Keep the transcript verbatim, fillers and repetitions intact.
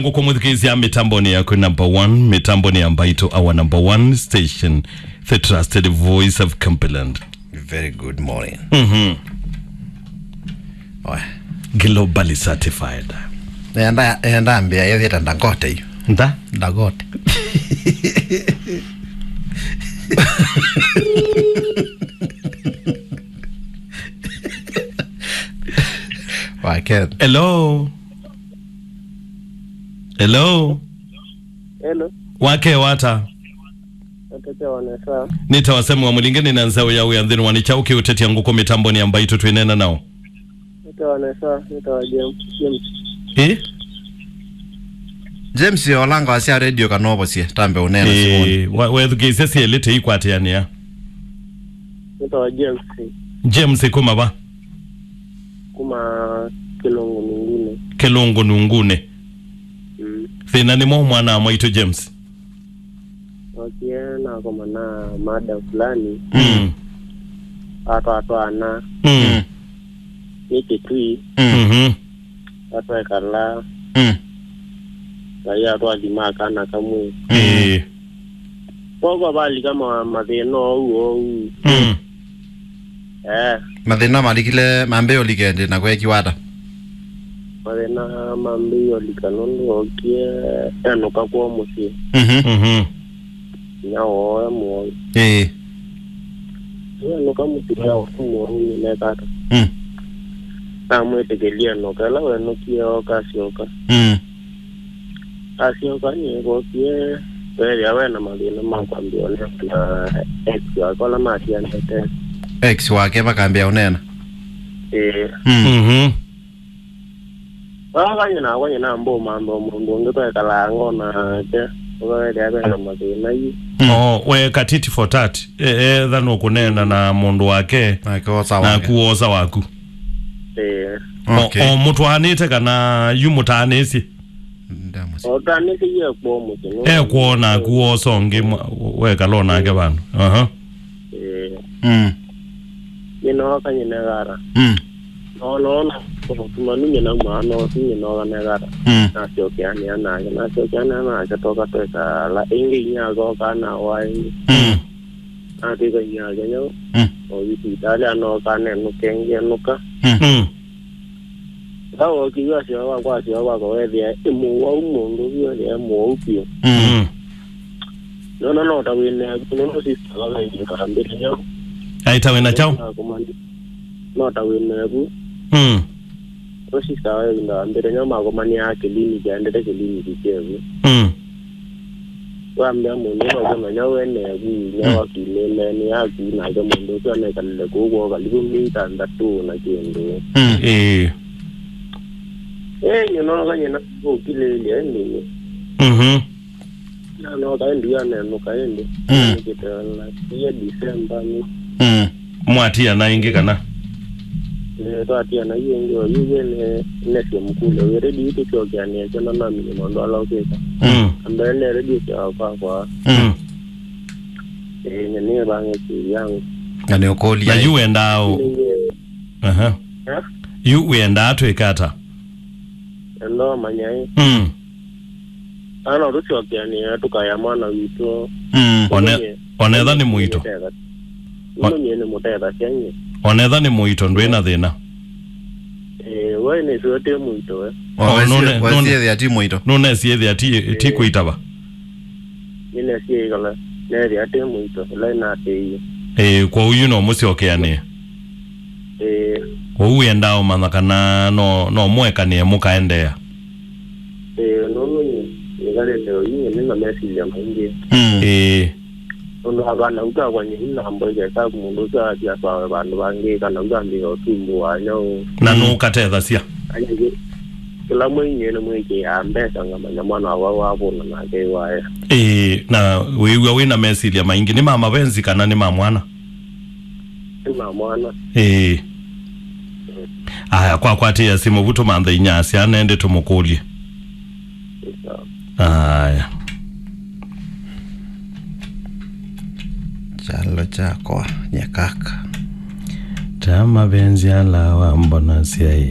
Ngũkũ mwĩthukĩĩsya mĩtambonĩ yaku number one, mĩtambonĩ ya Mbaitũ, our number one station, the trusted voice of Cumberland. Very good morning. Mhm. Oe. Globally certified. Enda, enda mbĩa yethĩta Dangote yu. Nda? Dangote. Wa Ken. Hello. Hello. Hello. Wake wata. Wake wata. Nĩtawa Samuel Mũlinge, nĩ na nzeo ya wĩa nthĩnĩ wa nĩ kyaũ kĩũtetya ngũkũ mĩtambonĩ ya Mbaitũ twĩneena nao. Nĩtawa Nesa, nĩtawa James. James. Ĩ? James, olanga wasya radio kana ũvosye, tambe ũneena simoni. Ĩ, wa-, wethukĩĩsya syelĩ tĩikwatĩanĩa. Nĩtawa James. James kuma va? Kuma Kĩlũngũ Nungune. Kĩlũngũ Nungune. Mm. Thĩna nĩ mwaũ mwana wa mwaitũ James? Okie nakoma na mada fulani. Mm. Atwatwana. Mm. Nĩ kĩtui. Mm. Mhm. Atwekala. Mm. Ngai atwathima kana kamwe. Mm. Ĩĩ. Kwoguo valika ma-, mathĩna ou ou. Mm. Eh. Mathĩna malikile mambĩĩe ũlika ĩndĩ na kwekiwa ata? Mathĩna mambĩĩe ũlika nũndũ ookie enũka kwoo mũsyĩ. Mhm. Mhm. Inyia woo e mũwau. Ĩĩ. Enũka mũsyĩ ya woo mũwau nĩneka ata? Mm. Namwĩtĩkĩlya enũka. Ĩla wenũkie ooka asyoka. Mm. Asyoka nĩvokie, weethĩa we na mathĩna ma kwambĩa ũneena na ex wake ũla matianĩte. Ex wake makambĩa ũneena? Ĩĩ. Mm. Mhm. Vaa nyina nakwa nyina mbũmantha mũndũ ũngĩ twekalaa ngo nake, ũkaweethĩa ve na mathĩna yu. Mm. Oh, weeka tit for tat. E-, etha nũkũneena na mũndũ wake, nake osa wake. Naku wosa waku. Ĩĩ. O-, okay. O mũtwaanĩte kana yu mũtaanĩsye? Ndamũsi. Otanĩkĩie kwoo mũsyĩ, no? Ekwoo naku wosa ũngĩ mwa-, wekala o nake vandũ. Aha. Ĩĩ. Mm. Nyina oka nyina egata. Mm. No, no, no, ũtumanu nyina mwana ũsu nyina oka negata. Mm. Nasyokeanĩa nake, nasyokeanĩa nake toka twekala. Ĩngĩ inyia akoka na wa ĩngĩ. Mm. Natwĩka inyia ake nyau. Mm. O sivitalĩ anoka nenũka ĩngĩ enũka. Mm. Mm. Ĩla wookie yu asyoka kwakwa, asyoka kwakwa weethĩa ĩ mũwau, mũndũ ũsu weethĩa ĩ mũwau vyũ. Mm. Mm. Nona no ta wĩ nevu, nũndũ sister wa ĩvinda wambĩte nyau. Aĩ ta wĩ na kyaũ? Nakomani-, no ta wĩ nevu. Mm. Nũndũ sister wa ĩvinda wambĩte nyau makomanĩaa kĩliniki, aendete kĩliniki kyevu. Mm. Wambĩa mũndũ ũla ũkũmenya we nevu, nĩ Mm. wakilĩle, nĩ yaku, nake mũndũ ũsu anekalile kũu kwoo kalivu myei thanthatũ na kĩndũ. Mm. Ĩĩ. Ĩĩ, nyina oka nyina ũkilĩlye ĩndĩ. Mhm. Nanoka ĩndĩ anenũka ĩndĩ. Mm. Nĩkĩtela, iye December nĩ. Mm. Mwatiana ĩngĩ kana? Eh, twatiana yu ĩngĩ, o yu we ne-, nesye mũkũlyo. We ready yu tũsyokeanĩe kyona namenye maũndũ ala ũkwĩka. Mm. Ambaye ne ready sya kwakwa. Mm. Eh, nye nĩvange siri yangu. Na nĩũkũlya. Na yu wendaa ũ-, aha. Eh? Yu wendaa twĩka ata? Enda ũmanya ĩ. Mm. Kana no tũsyokeanĩe tũkaya mwana witũ. Mm. One-, ũmanye, onetha nĩ mũito. Nĩmũtethasya. Nĩmũtethasya nyie. Onetha nĩ mũito, ndwĩ na thĩna. Eh, we nĩsĩ ũtĩ mũito we. Oh, nũne-, nũne-, wasiethĩa ti mũito. Nũnesiethĩa ti, ti Eh. Kwĩtava. Nĩnesie ĩkala, neethĩa atĩ mũito, ĩla ĩnatĩie. Ĩĩ, kwoou yu no mũsyokeanĩe. Ĩĩ. Kwoou wĩendaa ũmanya kana no, no mũekanĩe mũkaendeea. Ĩĩ, nũndũ nĩ, nĩkalĩte oyu, nĩ na mesilya maingĩ. Mm. Ĩĩ. Nũndũ akana ũtwakwa nyeni na mboike saku mũndũ ũsu athi atwawe vandũ vangĩ, kana ũtambĩĩa ũsumbũ wa nyau. Na Mm. nũkatethasya. Anyingĩ, kĩla mwei nyie nĩmwĩkĩaa mbesa ngamanya mwana wakwa wavũna nake waya. Ĩĩ, na wĩw'a wĩ na mesilya maingĩ. Nĩ ma mavenzi kana nĩ ma mwana? Nĩ ma mwana. Ĩĩ. Aya, kwakwatĩĩa simũ vu tũmanthe inyasya nende tũmũkũlye. Nĩ sawa. Aya. Kyalo kyakwa nyakaka. Ta mavenzi ala wambonasya ĩ.